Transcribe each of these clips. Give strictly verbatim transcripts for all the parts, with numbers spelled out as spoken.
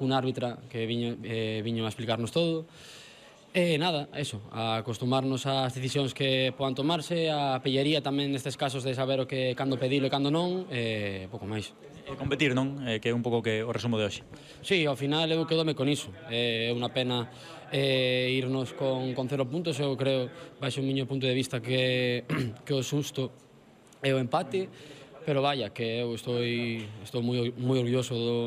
un árbitra que viño, eh, viño a explicarnos todo. E nada, eso, a acostumarnos ás decisións que podan tomarse, a pellaría tamén nestes casos de saber o que cando pedilo e cando non, e pouco máis. E competir, non? Eh, que é un pouco que o resumo de hoxe. Sí, ao final eu quedome con iso. É unha pena eh, irnos con, con cero puntos, eu creo, baixo o miño punto de vista, que, que o susto é o empate, pero vaya, que eu estou, estou moi, moi orgulloso do,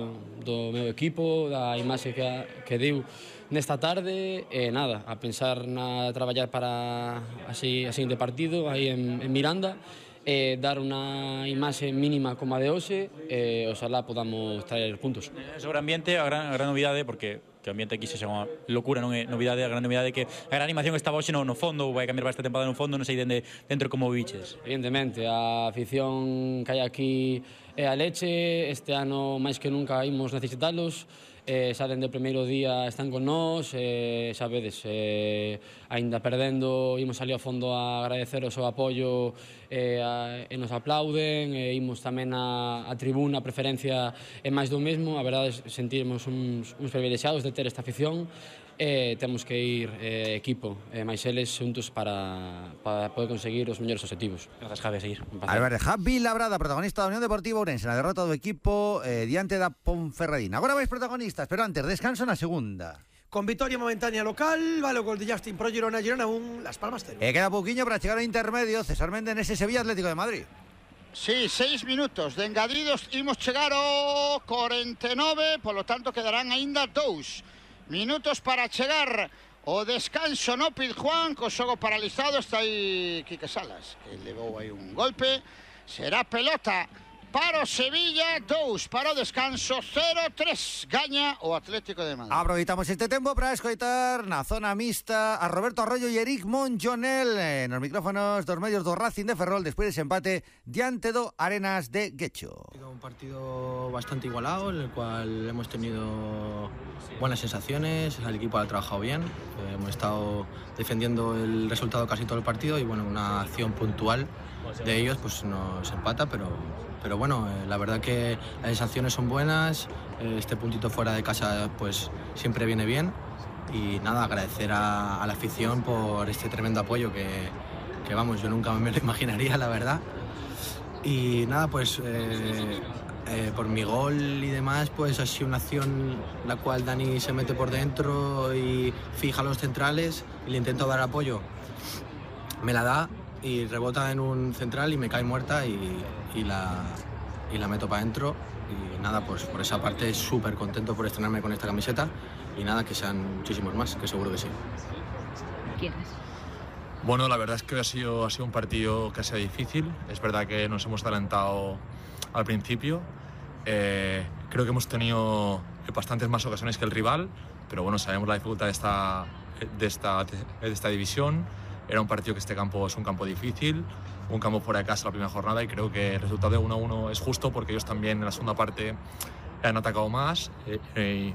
do meu equipo, da imaxe que, que deu nesta tarde, e nada, a pensar na traballar para así, a seguinte partido aí en, en Miranda, e dar unha imaxe mínima como a de hoxe, e oxalá podamos traer puntos. Sobre ambiente, a gran, a gran novidade, porque que o ambiente aquí se chama locura, non é novidade, a gran novidade é que a gran animación estaba hoxe no, no fondo, vai cambiar esta temporada no fondo, non sei dende dentro como viches. Evidentemente, a afición que hai aquí é a leche, este ano máis que nunca imos necesitalos, eh, xa dende o primeiro día están con nós, eh, xa vedes, eh, aínda perdendo, imos ali ao fondo a agradeceros o apoio eh, a, e nos aplauden, e imos tamén a, a tribuna, a preferencia é máis do mesmo, a verdade sentirmos uns, uns privilexiados de ter esta afición, e temos que ir eh, equipo, e máis eles xuntos para, para poder conseguir os mellores objetivos. Grazas, Javi, a seguir. Álvarez Javi Labrada, protagonista da Unión Deportiva Ourense na derrota do equipo eh, diante da Ponferradina. Agora vais protagonistas, pero antes, descanso na segunda. Con victoria momentánea local, vale o gol de Justin pro Girona, Girona un Las Palmas cero. E queda pouquiño para chegar ao intermedio, César Méndez nese Sevilla Atlético de Madrid. Sí, seis minutos de engadidos, imos chegar ao cuarenta e nove, polo tanto quedarán aínda dous minutos para chegar o descanso no Pizjuán, co xogo paralizado. Está aí Quique Salas, que levou aí un golpe. Será pelota para o Sevilla, dous para o descanso, cero tres, gaña o Atlético de Madrid. Aproveitamos este tempo para escoitar na zona mixta a Roberto Arroyo e Eric Monjonel eh, nos micrófonos dos medios do Racing de Ferrol despois dese empate diante do Arenas de Guecho. Un partido bastante igualado, en el cual hemos tenido buenas sensaciones, el equipo ha trabajado bien, eh, hemos estado defendiendo el resultado casi todo el partido y bueno, una acción puntual de ellos pues nos empata, pero, pero bueno, eh, la verdad que las sensaciones son buenas, eh, este puntito fuera de casa pues siempre viene bien y nada, agradecer a, a la afición por este tremendo apoyo que, que vamos, yo nunca me lo imaginaría, la verdad. Y nada, pues eh, eh, por mi gol y demás, pues ha sido una acción la cual Dani se mete por dentro y fija los centrales y le intento dar apoyo. Me la da y rebota en un central y me cae muerta y, y, la, y la meto para adentro. Y nada, pues por esa parte súper contento por estrenarme con esta camiseta y nada, que sean muchísimos más, que seguro que sí. ¿Quién es? Bueno, la verdad es que ha sido, ha sido un partido que ha sido difícil. Es verdad que nos hemos adelantado al principio. Eh, creo que hemos tenido bastantes más ocasiones que el rival, pero bueno, sabemos la dificultad de esta, de esta, de esta división. Era un partido que este campo es un campo difícil, un campo fuera de casa la primera jornada, y creo que el resultado de uno a uno es justo porque ellos también en la segunda parte han atacado más. Eh, eh,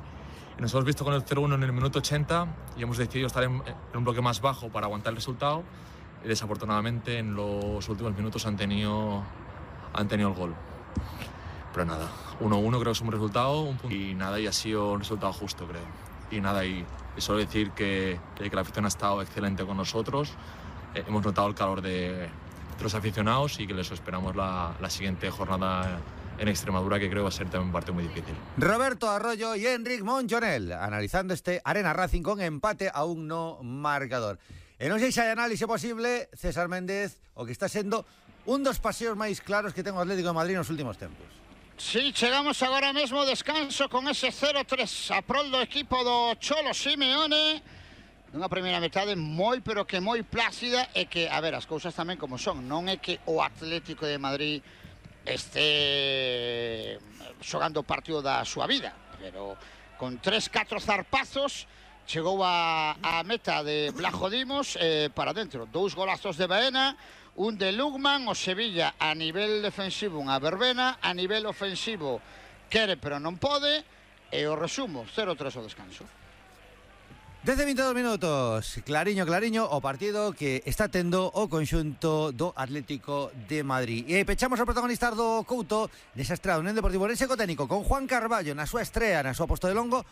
Nos hemos visto con el cero uno en el minuto ochenta y hemos decidido estar en, en un bloque más bajo para aguantar el resultado. Y desafortunadamente en los últimos minutos han tenido, han tenido el gol. Pero nada, uno a uno creo que es un buen resultado un punto, y nada, y ha sido un resultado justo, creo. Y nada, y, y solo decir que, que la afición ha estado excelente con nosotros. Eh, hemos notado el calor de, de los aficionados y que les esperamos la, la siguiente jornada en Extremadura, que creo va a ser también un partido muy difícil. Roberto Arroyo y Enric Monjonel analizando este Arena Racing con empate a un no marcador. E non sei se hai análise posible, César Méndez, o que está sendo un dos paseos máis claros que ten o Atlético de Madrid nos últimos tempos. Sí, chegamos agora mesmo ao descanso con ese cero tres a prol do equipo do Cholo Simeone. Unha primeira metade moi, pero que moi plácida, e que, a ver, as cousas tamén como son. Non é que o Atlético de Madrid este xogando o partido da súa vida, pero con tres, catro zarpazos chegou a, a meta de Blajo Dimos eh, para dentro. Dous golazos de Baena, un de Lugman. O Sevilla a nivel defensivo unha verbena, a nivel ofensivo quere pero non pode, e o resumo, cero tres o descanso. Desde veintidós minutos, clariño, clariño, o partido que está tendo o conxunto do Atlético de Madrid. E pechamos o protagonista do Couto nesa estrada Unión Deportiva Ourense co técnico, con Juan Carballo na súa estrea, na súa posto de longo